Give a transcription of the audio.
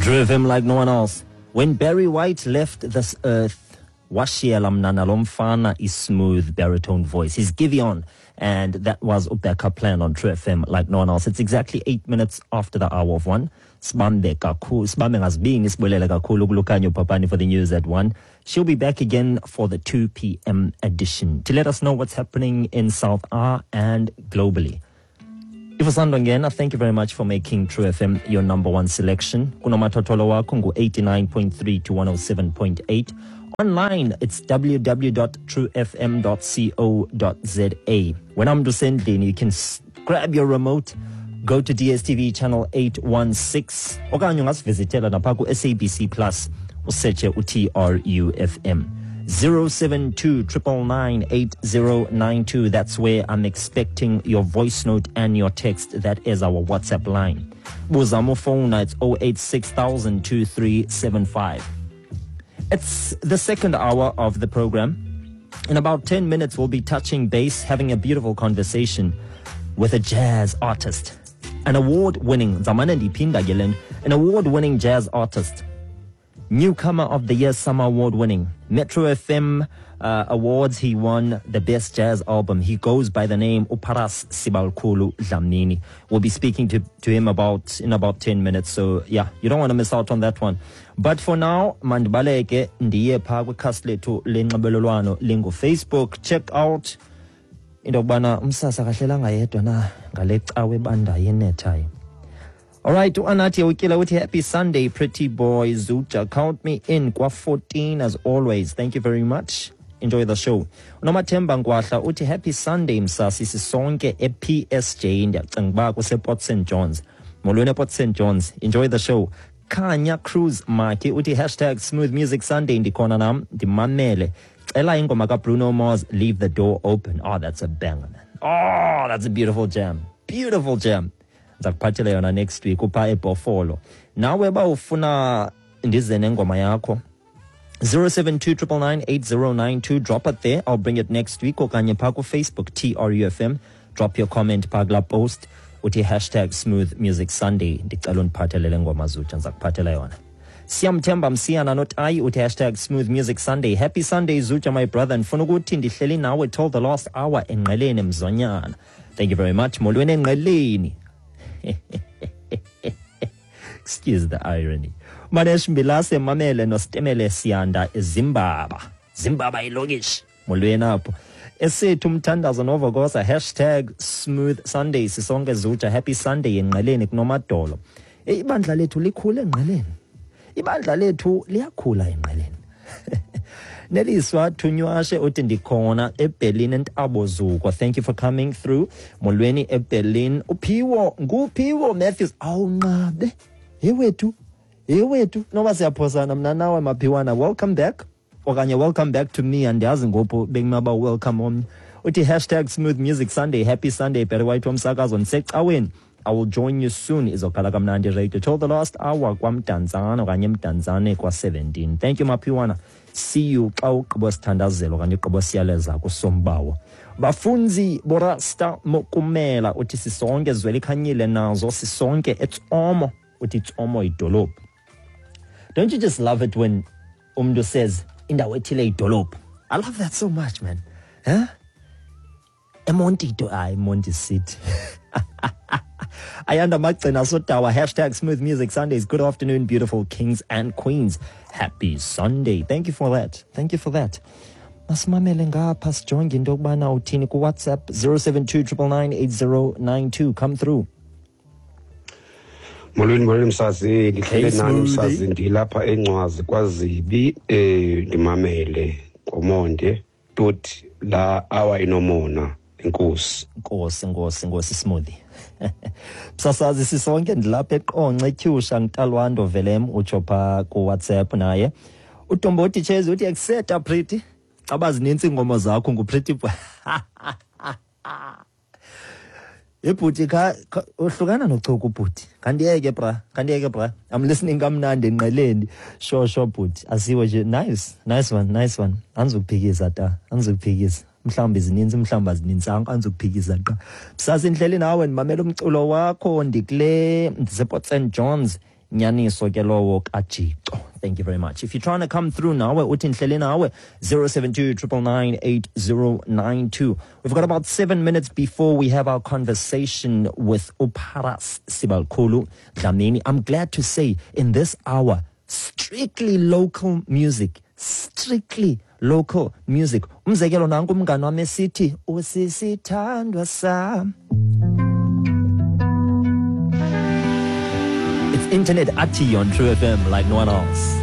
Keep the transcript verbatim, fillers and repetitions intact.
Drove him like no one else. When Barry White left this earth, washiyela mna nalo mfana smooth baritone voice. He's Giveon, and that was Ubeka Plan on True F M like no one else. It's exactly eight minutes after the hour of one. Sibambe kakhulu, sibambe ngazibini, sibulele kakhulu kuLukhanyo Papani for the news at one. She'll be back again for the two p m edition to let us know what's happening in South A and globally. If usandongena, thank you very much for making True F M your number one selection. Kunomathotholo wakho ngu eighty-nine point three to one oh seven point eight. Online, it's w w w dot true f m dot co dot z a. When I'm usendlini, you can grab your remote, go to D S T V channel eight one six, okanye ungasivizitela napha ku S A B C Plus, usearche u T R U F M. zero seven two triple nine eight zero nine two. That's where I'm expecting your voice note and your text. That is our WhatsApp line. Buzamo phone, it's oh eight six thousand two three seven five. It's the second hour of the program. In about ten minutes, we'll be touching base, having a beautiful conversation with a jazz artist. An award-winning, Zamane ndiphinda ke le nto, an award-winning jazz artist. Newcomer of the Year Summer Award winning. Metro F M, uh, Awards, he won the Best Jazz Album. He goes by the name Uparas Sibalkhulu Dlamini. We'll be speaking to, to him about in about ten minutes. So, yeah, you don't want to miss out on that one. But for now, mandibaleke ndiye pha kwikhasi lethu lenxibelelwano lingu Facebook. Check out into yokubana umsasa akahlelanga yedwa na ngale cawe ebandayo enethayo. All right, uAnathi Ukila uthi happy Sunday, pretty boy Zuja. Count me in kwa fourteen as always. Thank you very much. Enjoy the show. Unomathemba Nkwahla uthi happy Sunday msasi sisonke e P S J ndiyacinga uba kuse Port Saint John's. Molweni Port Saint John's. Enjoy the show. Khanya Cruz Maki uthi hashtag smooth music Sunday ndikhona nam ndimamele. Cela ingoma ka Bruno Mars, Leave the Door Open. Oh, that's a banger, man. Oh, that's a beautiful jam. Beautiful jam. Ndizakuphathela yona next week upha eBhofolo. Nawe ba ufuna ndize nengoma yakho, zero seven two triple nine eight zero nine two, drop it there. I'll bring it next week. Okanye pha ku Facebook T R U F M, drop your comment pha kula post uthi hashtag smooth music Sunday. Ndicela undiphathelele ngoma Zutsha, ndizakuphathela yona. Siyamthemba Msiyana Notayi uthi hashtag smooth music Sunday. Happy Sunday Zutsha, my brother. Ndifuna ukuthi ndihleli nawe till the last hour engqeleni Mzonyana. Thank you very much. Molweni engqeleni. Excuse the irony. Manesh Mbilase Mamele Nostemele Siyanda Zimbaba. Zimbaba ilokishi. Molweni apho. Esethu umthandazo novokosa hashtag smooth Sunday. Sisonke Zutsha, happy Sunday engqeleni kunomadolo. Ibandla lethu likhule engqeleni. Ibandla lethu liyakhula engqeleni. Neliswa Thunywashe uthi ndikhona eBerlin eNtabozuko. Thank you for coming through. Molweni eBerlin. Uphiwo, nguPhiwo Matthews. Awunqabe. Hey wethu. Hey wethu. Noba siyaphosana mna nawe Maphiwana. Welcome back. Okanye welcome back to me. Andiyazi ngopho bekumaba welcome omnye. Uthi hashtag smooth music Sunday. Happy Sunday. Barry White womsakazo ndisecaweni. I will join you soon. Izokhala kamnandi radio till the last hour kwaMdantsane okanye eMdantsane kwa seventeen. Thank you Maphiwana. See you xa ugqiba sithandazelo okanye ugqiba siyaleza kusombawo. Bafunzi Borasta Mokumela uthi sisonke Zwelikhanyile nazo sisonke eTsomo. Uthi Tsomo idolophu. Don't you just love it when umntu says indawo ethile idolophu? I love that so much, man. Huh? Emonti do I Monti City. Ayanda Magcina Sotawa, hashtag smooth music Sundays. Good afternoon, beautiful kings and queens. Happy Sunday. Thank you for that. Thank you for that. Masimamele ngapha sijonge into yokubana uthini ku WhatsApp zero seven two triple nine eight zero nine two. Come through. Molweni, molweni msazi, ndihlele nani msazi, ndilapha eNcwazi kwaZibi, eh ndimamele ngomonde toti la awa inomona. Inkosi. Nkosi, nkosi, nkosi smoothie. Msasazi sisonke ndilapha eQonce eTyusha ngitalwando Velem utsho pha ku WhatsApp naye. uDomboti Chezi uthi exeta pretty. Caba zininzi ingoma zakho ngu pretty. Ebhuti kha uhlukana nochuku ubhuti. Kandiyeke bra, kandiyeke bra. I'm listening kamnandi enqeleni. Sure sure bhuti. Asiwe nje nice, nice one, nice one. Angizukuphikisa ta, angizukuphikisa. Mhlawumbe zininzi mhlawumbe azininzanga angizukuphikisa qa. Msasa indlela nawe ndimamela umculo wakho ndikule ndise Port Saint John's Nyaniso ke lowo kaJixo. Thank you very much. If you're trying to come through now, uthi ndihleli nawe, zero seven two, triple nine, eight zero nine two. We've got about seven minutes before we have our conversation with uParas Sibalukhulu Dlamini. I'm glad to say in this hour, strictly local music, strictly local music. Umzekelo nanku umngane wam esithi, usisithandwa sam. It's Internet Ati on True F M like no one else.